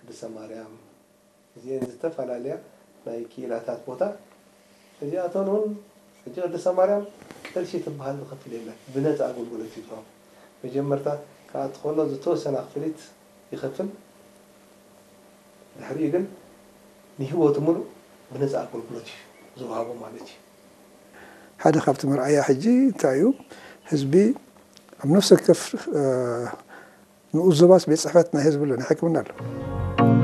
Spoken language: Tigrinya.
ቅድስተ ማርያም፣ እዚአን ዝተፈላለያ ናይ ክኢላታት ቦታ። እዚኣተን እውን ሕጂ ቅድስተ ማርያም ቅርሺ ትበሃል ዝኸፍል የለን፣ ብነፃ ኣገልግሎት እዩ ዝወሃብ። መጀመርታ ክኣቱ ከሎ ዝተወሰነ ክፍሊት ይኸፍል፣ ድሕሪኡ ግን ንህይወቱ ሙሉእ ብነፃ ኣገልግሎት እዩ ዝወሃቦ ማለት እዩ። ሓደ ካብቲ መርኣያ ሕጂ እንታይ እዩ? ህዝቢ ኣብ ነፍሲ ወከፍ ንኡስ ዞባስ ቤት ፅሕፈት ናይ ህዝቢ ኣሎ፣ ናይ ሕክምና ኣሎ።